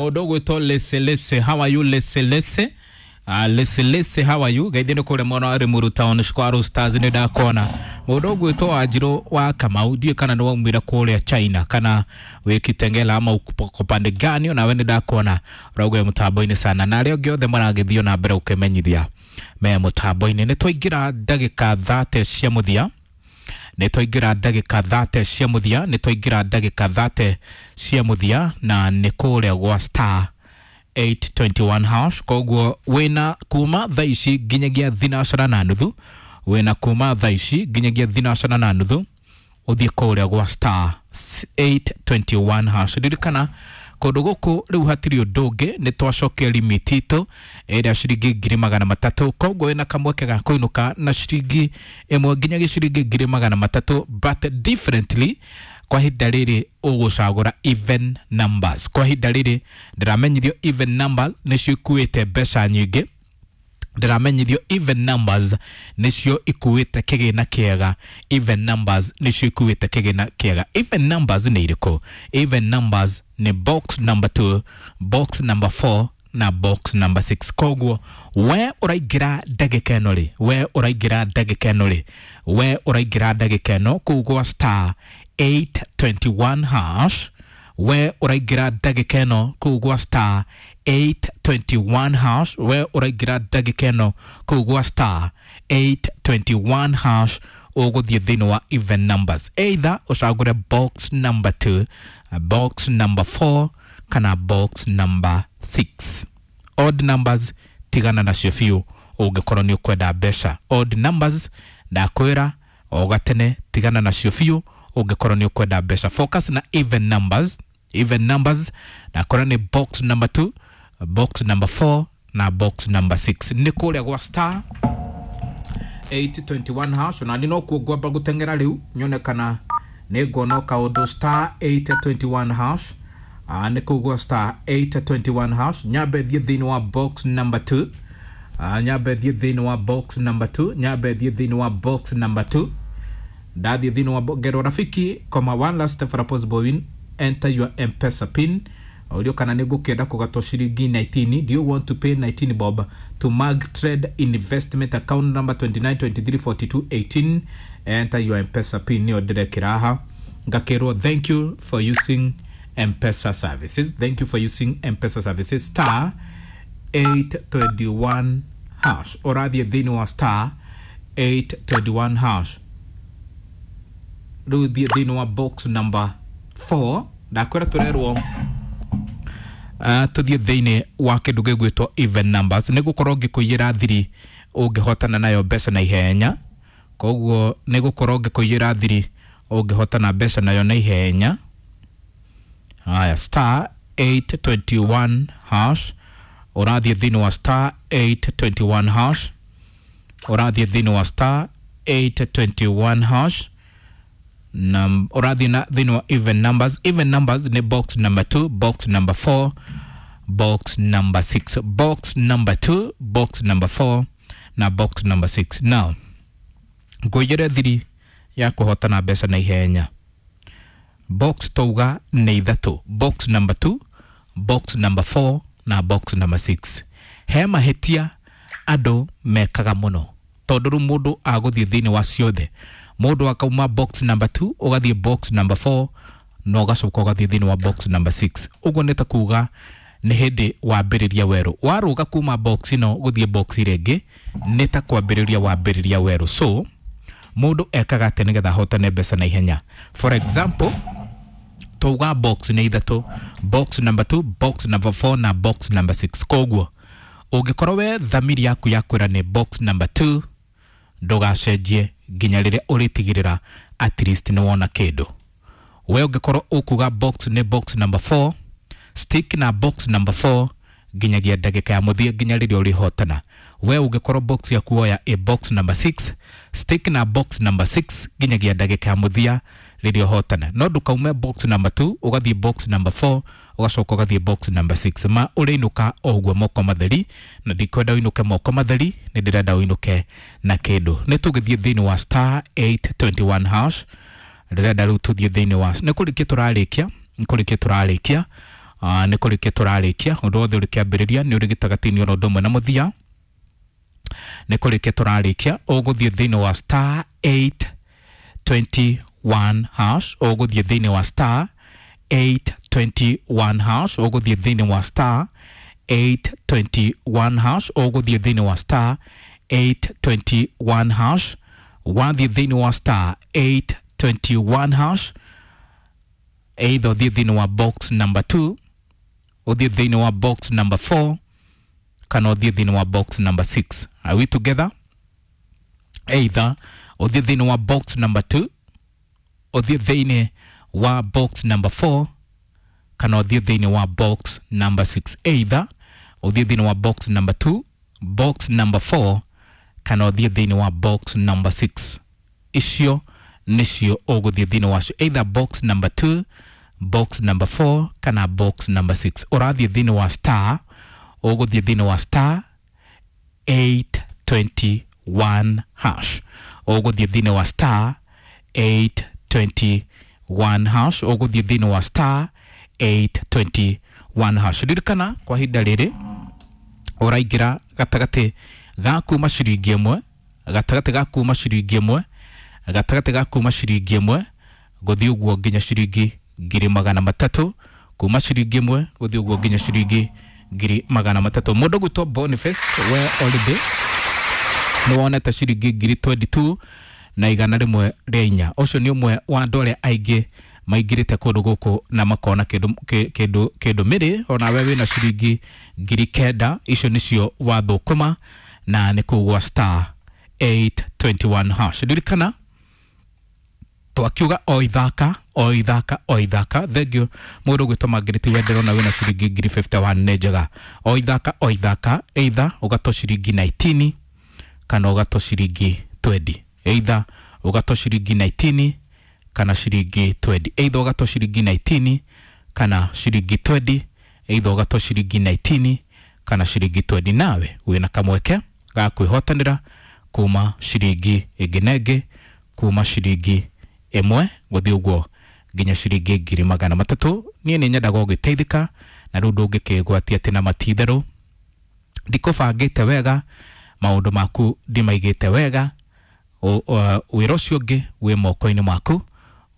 Mũndũ ũgwĩtwo Leselese, how are you Leselese? Leselese, how are you? Geithie nĩ kũrĩa mwena wa Limuru Town Square Stars nĩ ndakona. Mũndũ ũgwĩtwo Wanjirũ wa Kamau, ndiũĩ kana nĩ waumire kũrĩa China kana wĩ Kitengela ama uko pande gani, onawe nĩ ndakona ũrauga wĩ mũtambo-inĩ sana, na arĩa angĩ othe maragĩthiĩ na mbere gũkĩmenyithia me mũtambo-inĩ. Nĩ twaingĩra ndagĩka 30 cia mũthia, nĩ twaingĩra ndagĩka 30 cia mũthia, nĩ twaingĩra ndagĩka 30 cia mũthia, na nĩ kũrĩa gwa star 821 hash. Koguo wĩna kuma thaa ici nginyagia thinacara na nuthu, wĩna kuma thaa ici nginyagia thinacara na nuthu ũthiĩ kũrĩa gwa star 821 hash. Ririkana kũndũ gũkũ rĩu hatirĩ ũndũ ũngĩ, nĩ twacokia limit itũ ĩrĩa ciringi 300,000. Koguo wĩna kamweke ga kũinũka na ciringi ĩmwe nginyagia ciringi 300,000, but differently kwa ihinda rĩrĩ ũgũcagũra even numbers. Kwa ihinda rĩrĩ ndĩramenyithio even numbers nĩcio ikuĩte mbeca nyingĩ, ndĩramenyithio even numbers nĩcio ikuĩte kĩgĩna kĩega, even numbers nĩcio ikuĩte kĩgĩna kĩega. Even numbers nĩ irĩkũ? Even numbers nĩ box number 2, box number 4 na box number 6. Koguo we ũraingĩra ndagĩka ĩno rĩ, we ũraingĩra ndagĩka ĩno rĩ, we ũraingĩra ndagĩka ĩno kũu gwa star 821 hash, we ũraingĩra ndagĩka ĩno kũu gwa star 821 hash, we ũraingĩra ndagĩka ĩno kũu gwa star 821 hash, ũgũthiĩ thĩinĩ wa even numbers, either ũcagũre box number 2, box number 4 kana box number 6. Odd numbers tigana nacio biũ ũngĩkorwo nĩ ũkwenda mbeca. Odd numbers ndakwĩra o gatene, tigana nacio biũ ũngĩkorwo nĩ ũkwenda mbeca. Focus na even numbers. Even numbers ndakwĩra nĩ box number 2, box number 4 na box number 6. Nĩ kũrĩa gwa star 821 hash, na nĩ nokuo ngwamba gũteng'era rĩu nyone kana nĩ nguona kaũndũ. Star 821 hash, nĩ kũu gwa star 821 hash. Nyambe thiĩ thĩinĩ wa box number 2, nyambe thiĩ thĩinĩ wa box number 2, nyambe thiĩ thĩinĩ wa box number 2. Ndathiĩ thĩinĩ wa ngero rafiki koma one last step for a possible win, enter your M-Pesa pin. Ũrio kana nĩ ngũkĩenda kũgatwo ciringi 19. Do you want to pay 19 bob to Mag Trade Investment account number 29234218? Enter your M-Pesa pin. Nĩyo ndĩrekĩra haha, ngakĩrwo thank you for using M-Pesa services, thank you for using M-Pesa services. Star 821 hash, ũrathiĩ thĩinĩ wa star 821 hash. Rĩu thiĩ thĩinĩ wa box number 4. Ndakwĩra tũrerwo tũthiĩ thĩinĩ wa kĩndũ gĩgwĩtwo even numbers, nĩ gũkorwo ngĩkũiyĩra thiri ũngĩhotana nayo mbeca na ihenya. Koguo nĩ gũkorwo ngĩkũiyĩra thiri ũngĩhotana mbeca nayo na ihenya. Haya, star 821 hash, ũrathiĩ thĩinĩ wa star 821 hash, ũrathiĩ thĩinĩ wa star 821 hash, ũrathiĩ na thĩinĩ wa even numbers. Even numbers nĩ box number 2, box number 4, box number 6. Box number 2, box number 4 na box number 6. Now ngũiyĩre thiri ya kũhotana mbeca na ihenya. Box twauga nĩ ithatũ, box number 2, box number 4 na box number 6. He mahĩtia andũ mekaga mũno, tondũ rĩu mũndũ agũthiĩ thĩinĩ wa ciothe, mũndũ akauma box number 2 ũgathiĩ box number 4 na ũgacoka ũgathiĩ thĩinĩ wa box number 6. Ũguo nĩ ta kuga nĩ hĩndĩ wambĩrĩria werũ, warũga kuma box ĩno gũthiĩ box ĩrĩa ĩngĩ nĩ ta kwambĩrĩria wambĩrĩria werũ. So mũndũ ekaga atĩa nĩgetha ahotane mbeca na ihenya? For example, twauga box nĩ ithatũ, box number 2, box number 4 na box number 6. Koguo ũngĩkorwo we thamiri yaku ya kwĩra nĩ box number 2, ndũgacenjie nginya rĩrĩa ũrĩtigĩrĩra at least nĩ wona kĩndũ. We ũngĩkorwo ũkuga box nĩ box number 4, stick na box number 4 nginyagia ndagĩka ya mũthia, nginya rĩrĩa ũrĩhotana. We ũngĩkorwo box yaku woya ĩ box number 6, stick na box number 6 nginyagia ndagĩka ya mũthia rĩrĩa ũhotana. No ndũkaume box number 2 ũgathiĩ box number 4 ũgacoka ũgathiĩ box number 6, ma ũrĩinũka o ũguo moko matheri, na ndikwenda ũinũke moko matheri, nĩ ndĩrenda ũinũke na kĩndũ. Nĩ tũgĩthiĩ thĩinĩ wa star 821 hash. Ndĩrenda rĩu tũthiĩ thĩinĩ wa, nĩ kũrĩkia tũrarĩkia, nĩ kũrĩkia tũrarĩkia. Nĩ kũrĩkia tũrarĩkia ũndũ wothe ũrĩ kĩambĩrĩria nĩ ũrĩ gĩtagatĩ-inĩ oro ũndũ ũmwe na mũthia. Nĩ kũrĩkia tũrarĩkia ũgũthiĩ thĩinĩ wa star 821 hash, ũgũthiĩ thĩinĩ wa star 821 hash, ũgũthiĩ thĩinĩ wa star 821 hash, ũgũthiĩ thĩinĩ wa star 821 hash. Wathiĩ thĩinĩ wa star 821 hash, either ũthiĩ thĩinĩ wa box number 2, ũthiĩ thĩinĩ wa box number 4, kana ũthiĩ thĩinĩ wa box number 6. Are we together? Either ũthiĩ thĩinĩ wa box number 2, ũthiĩ thĩinĩ wa box number 4, kana ũthiĩ thĩinĩ wa box number 6. Either ũthiĩ thĩinĩ wa box number 2, box number 4, kana ũthiĩ thĩinĩ wa box number 6. Icio nĩcio ũgũthiĩ thĩinĩ wacio, either box number 2, box number 4, kana box number 6. Ũrathiĩ thĩinĩ wa star, ũgũthiĩ thĩinĩ wa star 821 hash, ũgũthiĩ thĩinĩ wa star 821 hash, ũgũthiĩ thĩinĩ wa star 821 hash. Ririkana kwa ihinda rĩrĩ ũraingĩra gatagatĩ ga kuma ciringi ĩmwe, gatagatĩ ga kuma ciringi ĩmwe, gatagatĩ ga kuma ciringi ĩmwe gũthiĩ ũguo nginya ciringi 300,000, kuma ciringi ĩmwe gũthiĩ ũguo nginya ciringi 300,000. Mũndũ gwĩtwo Boniface we already nĩ wonete ciringi 22,104. Ũcio nĩ ũmwe wa andũ arĩa aingĩ maingĩrĩte kũndũ gũkũ na makona kĩndũ kĩndũ kĩndũ mĩrĩ. Onawe wĩna ciringi 9,000, icio nĩcio wathũkũma na nĩ kũu gwa star 821 hash. Ririkana twakiuga o ithaka o ithaka o ithaka. Thengio mũndũ gwĩtwo Margaret Wendero na wĩna ciringi 51,000 nĩ njega. O ithaka o ithaka, either ũgatwo ciringi 19 kana ũgatwo ciringi 20, either ũgatwo ciringi 19 kana ciringi 20, either ũgatwo ciringi 19 kana ciringi 20, either ũgatwo ciringi 19 kana ciringi 20. Nawe wĩna kamweke ga kwĩhotanĩra kuma ciringi ĩngĩ na ĩngĩ, kuma ciringi ĩmwe gũthiĩ ũguo nginya ciringi 300,000. Niĩ nĩ nyendaga ũgĩteithĩka na rĩu ndũngĩkĩgwatia atĩ na matitherũ ndikũbangĩte wega, maũndũ maku ndimaigĩte wega, wĩra ũcio ũngĩ wĩ moko-inĩ maku.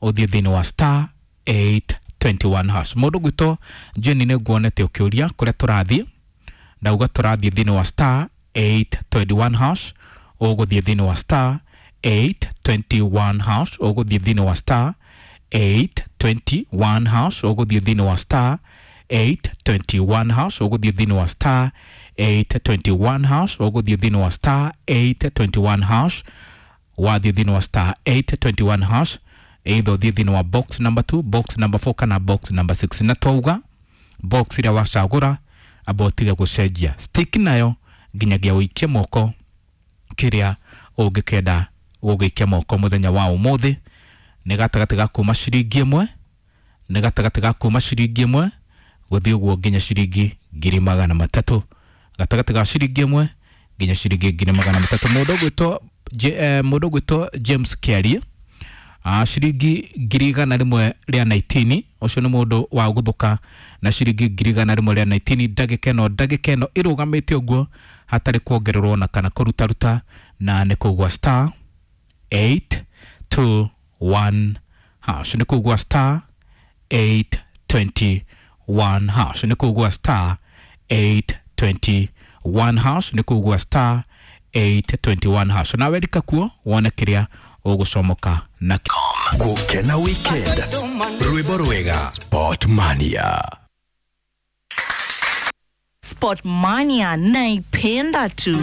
Ũthiĩ thĩinĩ wa star 821 hash. Mũndũ gwĩtwo Jenny nĩ nguonete ũkĩũria kũrĩa tũrathiĩ, ndauga tũrathiĩ thĩinĩ wa star 821 hash, ũgũthiĩ thĩinĩ wa star 821 hash, ũgũthiĩ thĩinĩ wa star 821 hash, ũgũthiĩ thĩinĩ wa star 821 hash, ũgũthiĩ thĩinĩ wa star 821 hash, ũgũthiĩ thĩinĩ wa star 821 hash. Wathiĩ thĩinĩ wa star 821 hash, either ũthiĩ thĩinĩ wa box number 2, box number 4, kana box number 6. Na twauga box ĩrĩa wacagũra amba ũtige gũcenjia, stick nayo nginyagia ũikie moko kĩrĩa ũngĩkenda gũgĩikia moko mũthenya wa ũmũthĩ. Nĩ gatagatĩ ga kuma ciringi ĩmwe, nĩ gatagatĩ ga kuma ciringi ĩmwe gũthiĩ ũguo nginya ciringi 300,000, gatagatĩ ga ciringi ĩmwe nginya ciringi 300,000. Mũndũ ũgwĩtwo James Kĩarie, ciringi 119,000. Ũcio nĩ mũndũ wa gũthũka na ciringi 119,000 ndagĩka ĩno, ndagĩka ĩno ĩrũgamĩte ũguo hatarĩ kuongererwo na kana kũrutaruta, na nĩ kũu gwa star 821 hash, nĩ kũu gwa star 821 hash, nĩ kũu gwa star 821 hash, nĩ kũu gwa star 821 hash. Nawe rika kuo wone kĩrĩa ũgũcomoka nakĩo. Gũkena weekend, rwĩmbo rwega Sport Mania. Sport Mania naipenda tu.